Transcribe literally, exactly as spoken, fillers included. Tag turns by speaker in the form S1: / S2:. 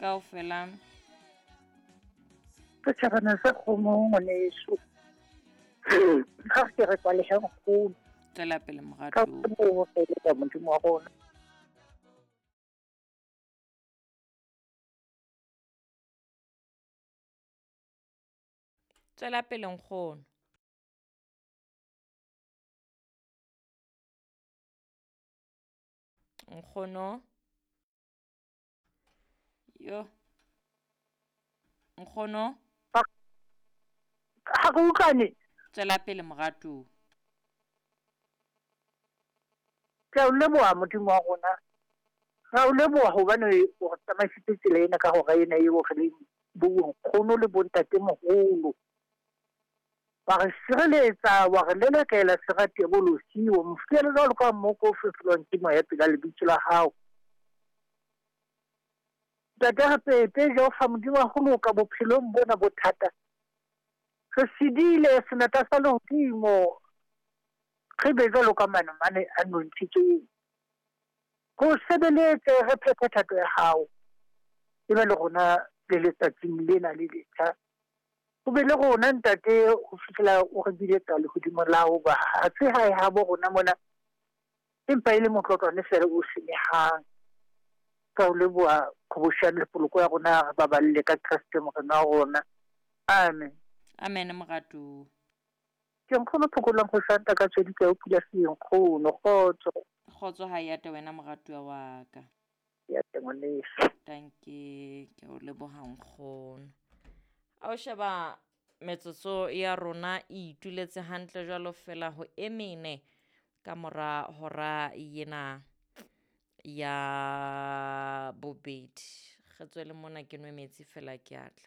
S1: Kaofela.
S2: Setjhabana sa kgomo ngwaneso. Ha ke re kwalehe nkgono.
S1: Tswela pele
S2: Ka
S1: moratuwa.
S2: ho re Modimo wa rona.
S1: Tswela pele nkgono. Nkgono. Yo. Nkgono.
S2: Ha re utlwane.
S1: Tswela pele moratuwa.
S2: Ke a o leboha Modimo wa rona. Ra o leboha hobane o re tsamaisitse tsela ena ka hora ena eo re leng bo nkgono le bontatemoholo. Wa re sireletsa, wa re lelekela sera diabolosi, wa mo fiela jwalo ka mmoko o fefolwang ke moya pela lebitso la hao. Ntate re pepe Jehova Modimo wa ho loka bophelong bona bo thata. Re sedile senatla sa lehodimo, re be jwalo ka manamane a nontshitsweng. Re o sebeletse, re phethe thato ya hao. E be le rona le letsatsing lena le letjha. O be le rona ntate ho fihlela o re biletsa lehodimo la hao, hoba ha se hae habo rona mona, empa e le motlotlwane feela o senyehang. Ka o leboha qhobosheane le poloko ya rona, re baballe ka Kreste Morena wa rona. Amen.
S1: Amen moratuwa.
S2: Ke nkgono Phokolang ho Santa ka tswedi ka o pula se nkgono kgotso.
S1: Kgotso ha ya te wena moratuwa wa ka.
S2: Ya te ngwaneso.
S1: Danke, ke o leboha nkgono. A o sheba metsotso ya rona e ituletse hantle jwalo fela ho e mene ka mora hora ena ya bobedi. Re tswele mona ke nwe metsi fela ke a tla.